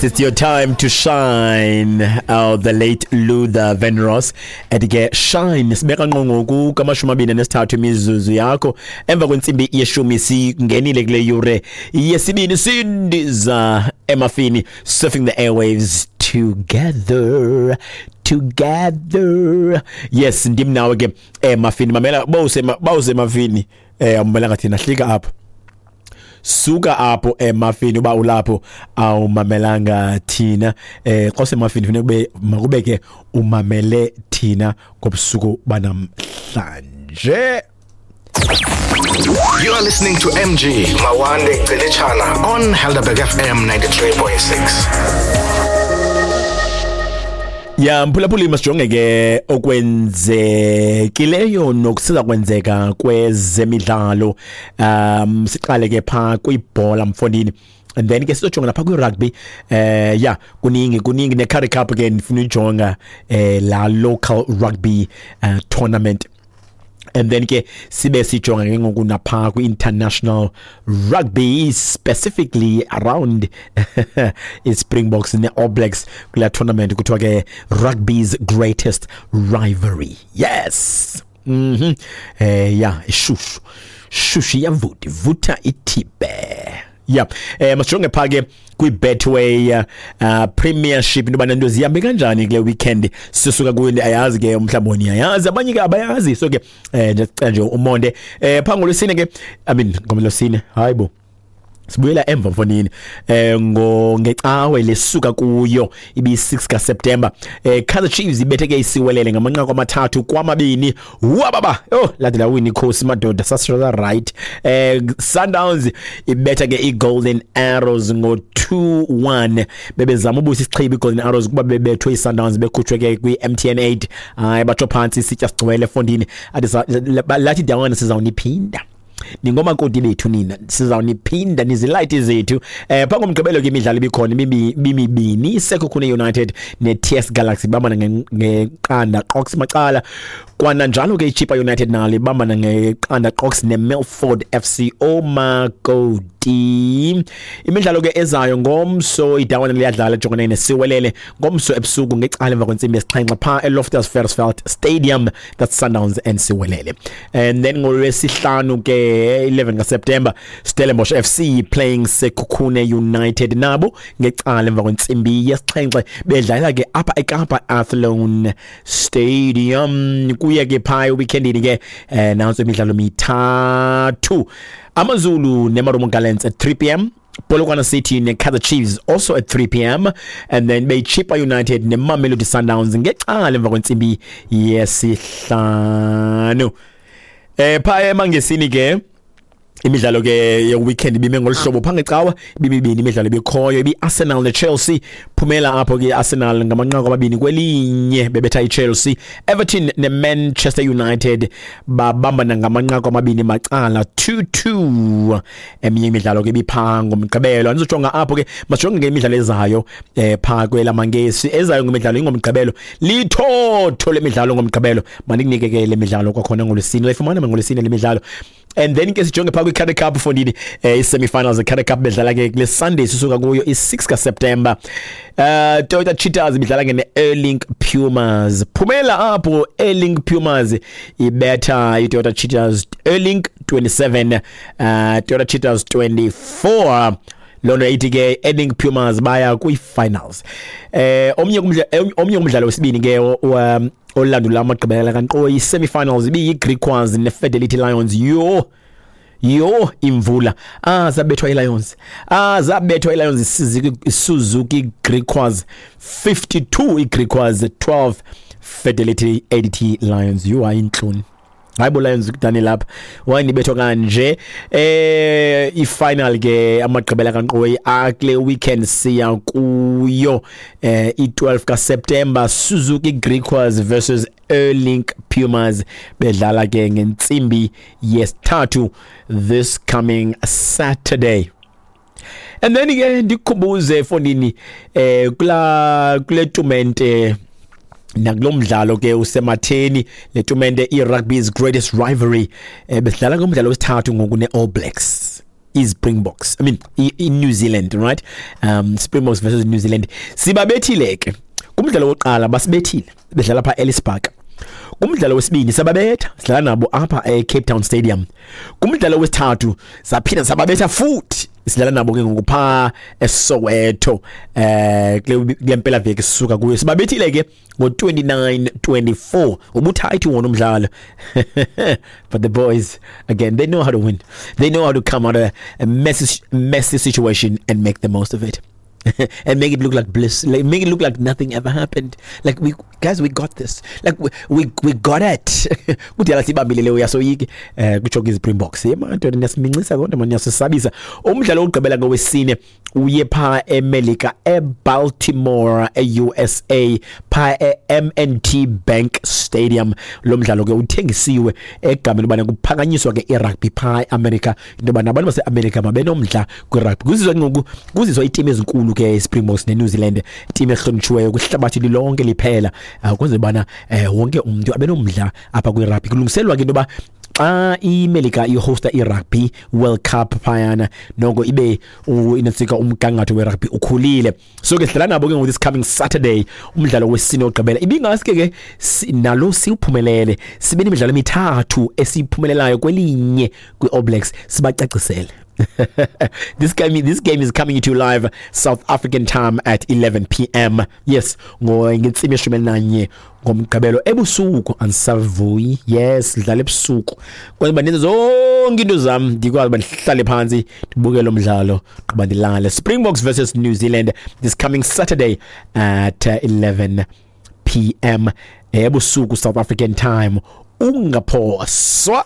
It's your time to shine. The late Luther Vandross ethi ke shine. Sibeka ngqo ngoku kamashumi 23 imizuzu yakho emva kwentsimbi yeshumi. Singenile kule yure yesibini, sindiza emafini, surfing the airwaves together together. Yes, ndim nawe ke emafini. Mamela, bawusemafini, awumelanga thina, hlika apho, suka apho emafini. Uba ulapho awumamelanga thina, xa usemafini funeka kube makube ke umamele thina ngobusuku banamhlanje. You are listening to MG Mawande Gcilitshana on Helderberg FM 93.6. Ya mphulaphuli, masijonge ke okwenzekileyo nokusiza kwenzeka kwezemidlalo. Siqale ke pha kwibhola, mfondini, and then ke sizojonga lapha kwi-rugby. Ya, kuningi kuningi, ne-Currie Cup ke ndifuna uyijonga, la local rugby tournament, and then ke sibe sijonga ke ngoku napha kwi-international rugby, specifically around i-Springboks ne-All Blacks kula tournament kuthiwa ke rugby's greatest rivalry. Yes, ya, ishushu shushu, iyavuta ivutha ithibe. Ya, masijonge pha ke kwi-Betway Premiership, into yobana nto zihambe kanjani kule weekend sisuka kuyo. Ayazi ke, mhlawumbi niyayazi, abanye ke abayazi, so ke ndiyacela nje umonde. Phaa ngolwesine ke, I mean ngolwesine, hayi bo, sibuyela emva mfonini, ngo ngecawe lesuka kuyo ibi-6 kaSeptember, Kaizer Chiefs ibethe ke iSiwelele ngamanqaku 3-2. Wababa, oh, lade lawina ikhosi madoda, sasisho right. Sundowns ibetha ke iGolden Arrows ngo 2-1. Bebezama ubuyisa isichibi iGolden Arrows kuba bebethwe iSundowns, bekhutshwe ke kwi-MTN 8. Hayi, batsho phantsi isitya sigcwele efondini, athi lathi dawana, sizawuniphinda, ningomakoti bethu nina, sizawuniphinda, nizilayiti zethu. Phaa ngomgqibelo ke imidlalo ibikhona ibimibini. ISekhukhune United ne-TS Galaxy bambana ngeqanda qox macala. Kwananjalo ke iChippa United nalo ibambana ngeqanda qox neMilford FC, omakoti. Imidlalo ke ezayo ngomso, idawana liyadlala ejongene neSiwelele ngomso ebusuku ngecala emva kwentsimbi yesixhenxe phaa eLoftus Versfeld Stadium. That's Sundowns and Siwelele. And then ngolwesihlanu ke, 11 kaSeptember, Stellenbosch FC playing Sekhukhune United nabo ngecala emva kwentsimbi yesixhenxe, bedlala ke apha eKapa Athlone Stadium. Kuye ke phaa weekendini ke, nantso imidlalo mithathu: AmaZulu neMarumo Gallants at 3 p.m., Polokwane City ne-Kaizer Chiefs also at 3 p.m., and then beyiChippa United neMamelodi Sundowns ngecala emva kwentsimbi yesihlanu. Phaa emangesini ke imidlalo ke ye-weekend ibime ngolu hlobo. Phaa ngecawa ibimibini imidlalo ebikhoyo, ibi-Arsenal ne-Chelsea. Phumela apho ke i-Arsenal ngamanqaku 2-1, bebetha i-Chelsea. Everton ne-Manchester United babambana ngamanqaku 2 macala, 2-2. Eminye imidlalo ke ibiphaa ngomgqibelo, andizojonga apho ke. Masijonge ke imidlalo ezayo phaa kwelamangesi. Ezayo ngemidlalo ingomgqibelo, lithotho lemidlalo ngomgqibelo. Mandikunike ke le midlalo kwakhona ngolwesine, uyayifumana ngolwesine le midlalo. And then ke sijonge phaa kwi-Currie Cup fondini, i-semi-finals ze-Currie Cup bedlala ke kule Sunday sisuka kuyo, i-6 kaSeptember. Toyota Cheetahs ibidlala ke ne-Airlink Pumas. Phumela apho Airlink Pumas ibetha i-Toyota Cheetahs, Airlink 27, Toyota Cheetahs 24. Loo nto ithi ke Airlink Pumas baya kwii-finals. Omnye umdlalo wesibini ke olandula amagqibela kankqoyi, i-semi-finals ibiyi-Griquas ne-Fidelity Lions. Yho yho, imvula! Ah, zabethwa iLions, ah, zabethwa iLions, Suzuki Griquas 52, iGriquas 12, Fidelity ADT Lions. Yho, hayi intloni, hayi bo Lions, kudani lapha wayinibethwa kanje. I-final ke amagqibela kankqoyi akule weekend siya kuyo, i-12 kaSeptember, Suzuki Griquas versus Airlink Pumas, bedlala ke ngentsimbi yesithathu this coming Saturday. And then ke ndikukhumbuze fondini, kula kule tumente nakulo mdlalo ke usematheni, le tumente i-rugby's greatest rivalry, besidlala ngomdlalo wesithathu ngoku ne-All Blacks. iSpringboks, I mean i-New Zealand, right? Springboks versus New Zealand. Sibabethile ke kumdlalo wokuqala, basibethile bedlala pha Ellis Park. Kumdlalo wesibini sababetha, sidlala nabo apha eCape Town Stadium. Kumdlalo wesithathu saphinda sababetha futhi, sidlala nabo ke ngoku pha eSoweto, kule mpela veki sisuka kuyo. Sibabethile ke ngo-29-24, ubuthayithi wona umdlalo. But the boys again, they know how to win. They know how to come out of a messy, messy situation and make the most of it and make it look like bliss, like make it look like nothing ever happened. Like, we guys, we got this. Like we got it. Kudala sibambile leyo, yasoyiki kutsho ke iSpringboks. Ye man, niyasiminxisa kodwa man, niyasisabisa. Umdlalo wokugqibela ngowesine uye pha eMelika, eBaltimore, eUSA, pha eM&T Bank Stadium. Lo mdlalo ke uthengisiwe egameni ubana kuphakanyiswa ke irugby pha eAmerica, into yoba nabantu baseAmerica mabenomdla kwirugby. Kuzizwa ngoku kuzizwa iitimu ezinkulu ke, Springboks neNew Zealand, team ehlonitshiweyo kwihlabathi lilonke liphela, kwenzela ubana wonke umuntu abenomdla apha kwirugby. Kulungiselwa ke into yoba xa iMelika ihosta i-Rugby World Cup phayana, noko ibe inantsika umgangatho werugby ukhulile. So ke sidlala nabo ke ngoku this coming Saturday, umdlalo wesine wokugqibela. Ibingaske ke nalo siwuphumelele, sibe nemidlalo emithathu esiyiphumelelayo kwelinye kwi-All Blacks, sibacacisele. This game is coming to you live South African time at 11 p.m. Yes, ngentsimbi 11 ngomgqibelo ebusuku. Andisavuyi. Yes, dlala ebusuku. Kwenza uba ndenze zonke into zam, ndikwazi uba ndihlale phantsi ndibuke lo mdlalo gqiba ndilale. Springboks versus New Zealand this coming Saturday at 11 p.m. ebusuku South African time. Ungaphoswa.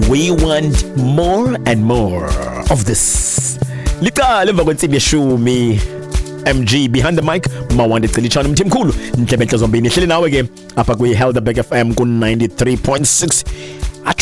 We want more and more of this. Liqala emva kwentsimbi 10. MG behind the mic, Mawande Cilitshana, Mthimkhulu, Ndlebe Zombini. Hleli nawe ke apha kwi Helderberg FM ku 93.6.